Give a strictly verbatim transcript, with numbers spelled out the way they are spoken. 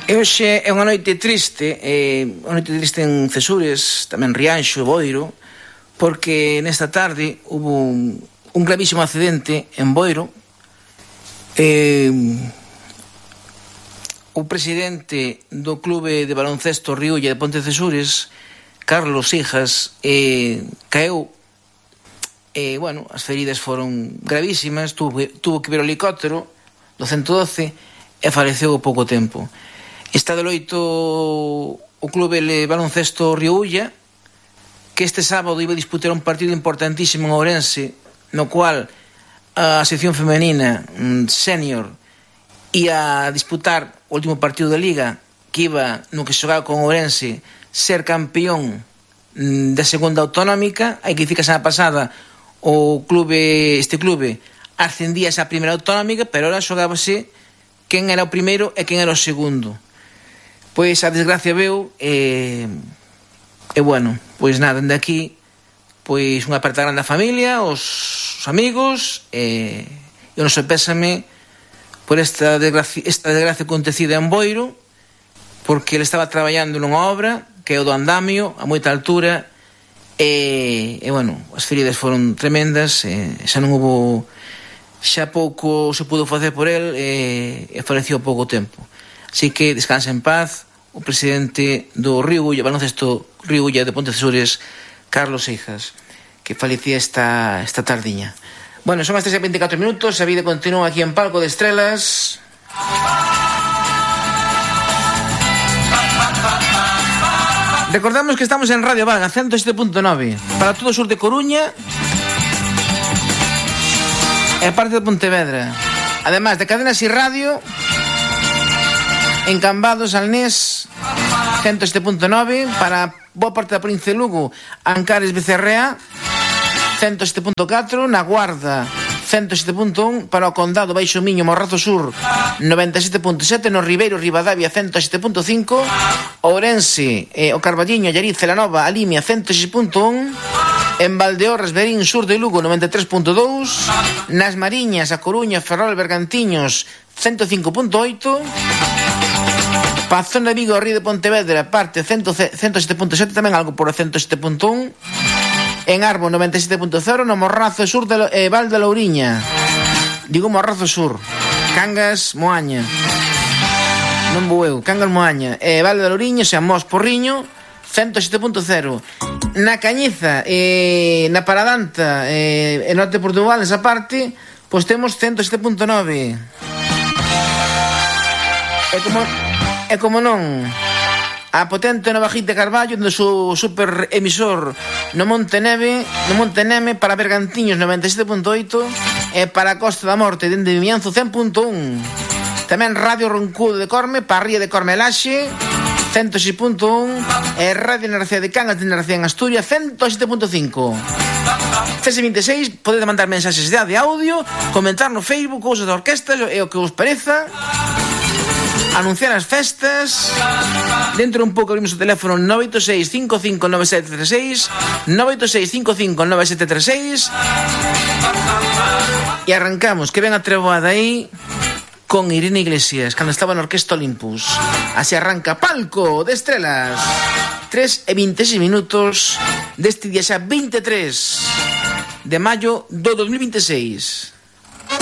E hoxe é unha noite triste, eh, unha noite triste en Cesures, tamén Rianxo, Boiro, porque nesta tarde hubo un, un gravísimo accidente en Boiro. Eh, o presidente do clube de baloncesto Riulla de Ponte Cesures, Carlos Hijas, eh, caeu. E, eh, bueno, as feridas foron gravísimas, tuvo, tuvo que ver o helicóptero do ciento doce e faleceu ao pouco tempo. Está de loito o clube de baloncesto Riulla, que este sábado iba a disputar un partido importantísimo en Ourense, no cual a sección femenina senior ia a disputar o último partido da Liga, que iba no que xogaba con Ourense ser campeón da segunda autonómica. Hai que dicir que a semana pasada o clube, este clube ascendía esa primeira autonómica, pero ahora xogábase quen era o primeiro e quen era o segundo. Pois a desgracia veu e, e bueno, pois nada, dende aquí pois unha aperta grande a familia, os, os amigos e, e o noso pésame por esta desgracia, esta desgracia acontecida en Boiro, porque ele estaba traballando nunha obra que é o do andamio a moita altura e, e bueno, as feridas foron tremendas e xa non hubo, xa pouco se pudo facer por el e, e faleceu pouco tempo. Así que descansa en paz o presidente do Riulla, baloncesto Riulla de Ponte Cesures, Carlos Hijas, que falecía esta, esta tardiña. Bueno, son as tres e veinticuatro minutos, a vida continúa aquí en Palco de Estrelas. Recordamos que estamos en Radio Vaga, ciento siete punto nove, para todo o sur de Coruña e parte de Pontevedra. Además de Cadenas y Radio en Cambados, Alnés, ciento siete punto nove, para boa parte da provincia de Lugo, Ancares, Becerrea, ciento siete punto catro, na Guarda, ciento siete punto un, para o Condado, Baixo Miño, Morrazo Sur, noventa e sete punto sete, no Ribeiro, Ribadavia, ciento sete punto cinco, Ourense, eh, o Carballiño, Allariz, Celanova, a Limia, ciento seis punto un, en Valdeorras, Berín, sur de Lugo, noventa e tres punto dous, nas Mariñas, a Coruña, Ferrol, Bergantiños, ciento cinco punto oito, Pazón de Vigo, Río de Pontevedra, parte ciento sete punto sete, tamén algo por ciento sete punto un, en Arbo, noventa e sete punto cero, no Morrazo Sur de eh, Val de Louriña, digo Morrazo Sur, Cangas, Moaña, non vou eu, Cangas, Moaña, eh, Val de Louriña, San Mos, Porriño, ciento sete punto cero, na Cañiza, eh, na Paradanta, eh, en Norte de Portugal, nesa parte, pois temos ciento sete punto nove. E como, e como non, a potente Nova Gite Carballo, do seu super emisor no Monte Neve, no Monte Neme, para Bergantiños noventa e sete punto oito e para a Costa da Morte dende Vimianzo cen punto un. Tamén Radio Roncudo de Corme, para Ría de Cormelaxe ciento seis punto un e Radio Narcea de Cangas de Narcea en Asturias ciento sete punto cinco. C S veintiséis, podedes mandar mensaxes de audio, comentar no Facebook cousas da orquesta e o que vos pareza, anunciar as festas. Dentro un pouco abrimos o teléfono nove oito seis, cinco cinco nove sete tres seis, nove oito seis, cinco cinco nove sete tres seis, e arrancamos, que ven a treboada aí con Irene Iglesias cando estaba na Orquesta Olympus. Así arranca Palco de Estrelas, tres e veintiséis minutos deste día xa veintitrés de maio do dos mil veintiséis.